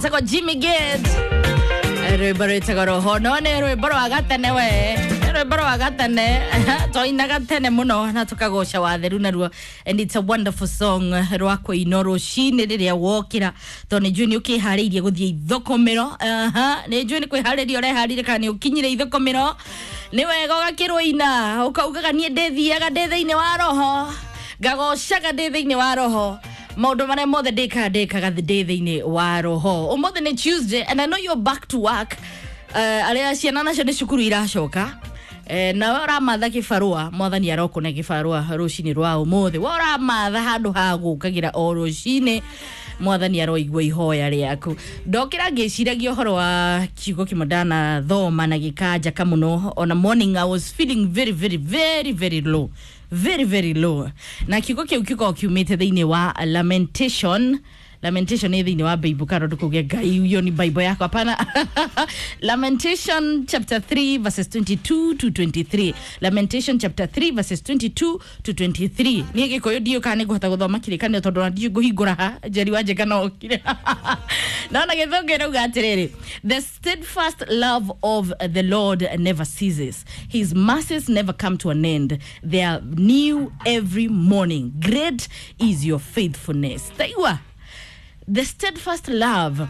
Sako Jimmy Gate rwimbo rwitagwo roho no nä rwimbo rwa gatene we rwimbo rwa gatene twainaga tene muno na tukagoca watheru naruo and it's a wonderful song rwa kũinwo rũcinĩ rĩrĩa wokĩra tondũ nĩ njũĩ nĩ ũkĩharĩirie gũthiĩ ithokomĩro. Nĩ njũĩ nĩ kwĩharĩria ũreharĩria kana nĩ ũkinyire ithokomĩro nĩ wega ũgakĩrũina ũkaugaga niĩ ndĩthiaga ndĩ thĩinĩ wa roho ngagocaga ndĩ thĩinĩ wa roho maundu maria mothe ndikaga ndikaga ndĩ thĩinĩ wa roho. Ũmũthĩ nĩ Tuesday and I know you're back to work. Arĩa ciana nacio nĩ cukuru iracoka. Nawe ũramatha kĩbarũa mwathani arokũne kĩbarũa rũcinĩ rwa ũmũthĩ. We ũramatha handũ ha gũkagĩra o rũcinĩ mwathani aroigua ihoya rĩaku. Ndokĩra ngĩciragia ũhoro wa kiugo kĩmwe ndanathoma na gĩkanjaka mũno. On a morning I was feeling very very very very low, very very low, na kiugo kĩu gĩkoragwo kiumĩte thĩinĩ wa Lamentation. Lamentation nĩ thĩinĩ wa Bible kana ndũkauge Ngai hiyo ni Bible yako, hapana. Lamentation chapter 3 verses 22 to 23. Lamentation chapter 3 verses 22 to 23. Niĩ Gĩkũyũ ndiũĩ kana nĩngũhota gũthoma kĩrĩkanĩro tondũ ona ndiũĩ ngũhingũra ha Njeri wa Njega no okire. No na Gĩthũngũ ĩrauga atĩrĩrĩ, the steadfast love of the Lord never ceases, his mercies never come to an end, they are new every morning, great is your faithfulness. Taigua the steadfast love,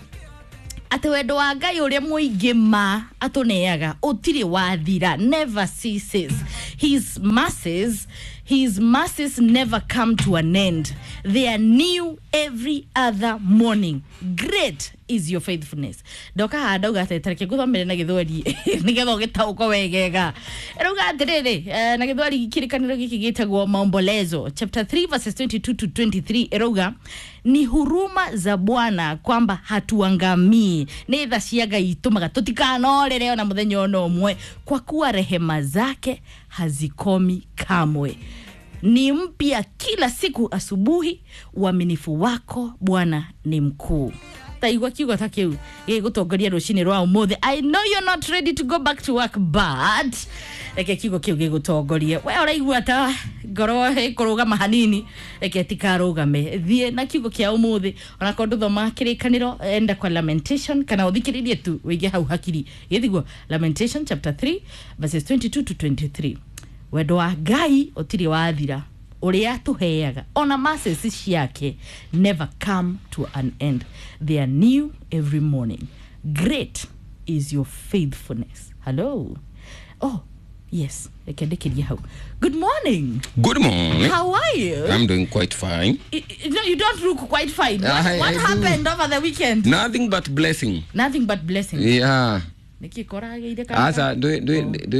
atĩ wendo wa Ngai ũrĩa mũingĩ ma atũneaga ũtirĩ wathira, never ceases, his mercies, his mercies never come to an end, they are new every other morning, great is your faithfulness. Ndoka haha ndauga atĩ tareke ngũthomere na Gĩthweri nĩgetha ũgĩtaũkwo wegega. Ĩrauga atĩrĩrĩ, na Gĩthweri kĩrĩkanĩro gĩkĩ gĩtagwo Maombolezo chapter 3 verses 22 to 23 ĩrauga ni huruma za Bwana kwamba hatuangamii, nĩ tha cia Ngai itũmaga tũtikanorĩre ona mũthenya ona ũmwe, kwa kuwa rehema zake hazikomi kamwe, ni mpya kila siku asubuhi, uaminifu wako Bwana ni mkuu. Taigua kiugo ta kiu gĩgũtongoria rũcinĩ rwa ũmũthĩ. I know you're not ready to go back to work, but reke kiugo kĩu gĩgũtongorie. We ũraigua ta ngoro ĩkũrũgama hanini, reke tikarũgame, thiĩ na kiugo kĩa ũmũthĩ. Onakorwo ndũthoma kĩrĩkanĩro, enda kwa Lamentation kana ũthikĩrĩrie tu wĩige hau hakiri gĩthiguo. Lamentation chapter 3 verses 22 to 23. Wendo wa Ngai ũtirĩ wathira, ũrĩa atũheaga ona mercies ciake never come to an end, they are new every morning, great is your faithfulness. Hello. Oh yes, reke ndĩkĩrie hau. Good morning. Good morning. How are you? I'm doing quite fine. No, you don't look quite fine. What, what I do. happened over the weekend? Nothing but blessing. Nothing but blessing. Yeah. Nĩkĩ korageire kana? Aca ndwĩ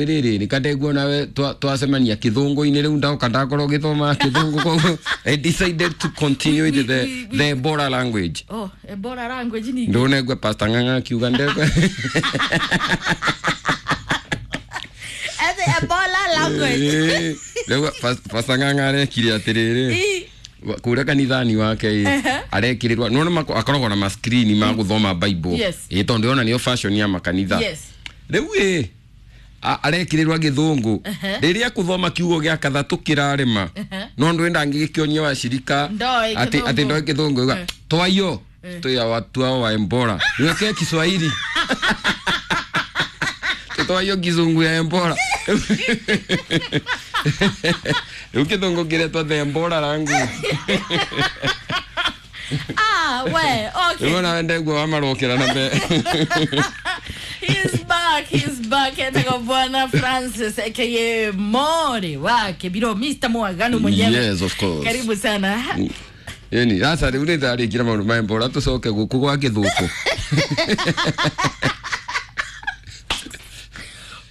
rĩrĩ nĩkandeguo nawe twacemania kĩthũngũ-inĩ rĩu ndoka ndakorwo ngĩthoma kĩthũngũ koguo I decided to continue with the Ebola language. Oh, Ebola language ni Ndũnegwe Pastor Ng'ang'a akiuga ndegwe. Ete Ebola language. Rĩu Pastor Ng'ang'a arekire atĩrĩrĩ kũrĩa kanithani wake ĩ arekĩrĩrwo nĩwona akoragwo na ma-screen ma gũthoma Bible. Yes. Ĩ tondũ ndĩrona nĩyo fashion ya makanitha. Yes. Rĩu ĩ arekĩrĩrwo gĩthũngũ rĩrĩa akũthoma kiugo gĩa kathatũ kĩrarema no ndwenda angĩgĩkĩonia washirika Ndoĩ atĩ Gĩthũngũ. ndoĩ gĩthũngũ iga twaiyo twĩ watu hao wa Ebola niwekee Kiswahili twaiyo kizungu ya Ebola rĩu kĩthũngũ kĩretwo the Ebola language. Ah, we, okay. Rĩu ona ndegua wamarokera na mbere. He's back, he's back. Etagwo Bwana Francis aka Mori wake Biro Mr. Mwaganu mwenyewe. Yes, of course. Karibu sana. Ĩni aca rĩu nĩ ndarĩkire maũndũ ma Ebola tũcoke gũkũ gwa gĩthũkũ.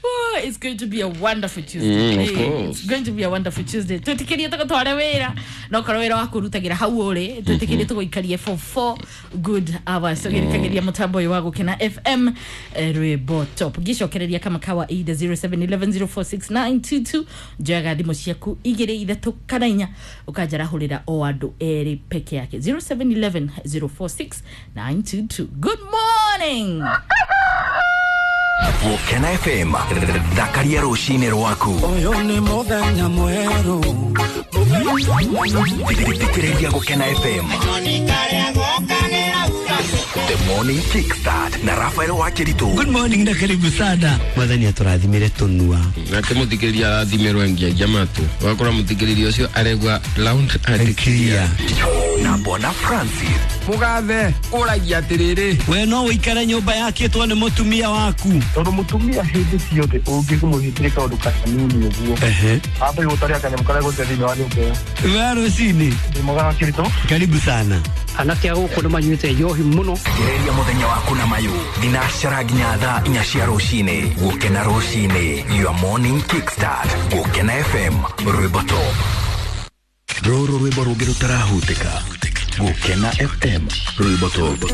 Oh, it's going to be a wonderful Tuesday. Mm, of course. It's going to be a wonderful Tuesday. Twĩtĩkĩrie tũgũtware wĩra no korwo wĩra waku ũrutagĩra hau ũrĩ twĩtĩkĩrie tũgũikarie for 4 good hours tũgĩrĩkagĩria mũtambo ũyũ wa Gũkena FM, rwĩmbo top ngĩcokereria kama kawaida 0711046922 njoyaga thimũ ciaku igĩrĩ ithatũ kana inya ũkanjarahũrĩra o andũ erĩ peke yake 0711046922. Good morning. Gũkena FM thakaria rũcinĩ rwaku. Ũyũ nĩ mũthenya mwerũ. Thikĩrĩria Gũkena FM. The Morning Kickstart na Rafael Wakeritu. Good morning na karibu sana. Mwathani atũrathimire tũnua. Nake mũthikĩrĩria arathimĩrwo ngiagia matũ wakora mũthikĩrĩria ũcio aregua loud and Clear. Na Bwana Francis. Mũgathe ũragia atĩrĩrĩ. We no ũikare nyũmba yakĩtwo nĩ mũtumia waku. Tondũ mũtumia hĩndĩ ciothe ũngĩmũhĩtĩria kaũndũ kanini ũguo, amba gũtaria kanyamũ karĩa gũte thĩinĩ wa nyũmba ĩyo. We rũcinĩ. Ndĩ mwega wa Kĩritũ. Karibu sana. Anake a gũkũ nĩ manyuĩte njohi mũno. Gereria mũthenya waku na mayũ thinacara nginya thaa 4 cia rũcinĩ. Gũkena rũcinĩ, your morning kickstart. Gũkena FM, rwĩmbo top. Rũrũ rwĩmbo rũngĩ rũtarahutĩka. Gũkena FM, rwĩmbo top.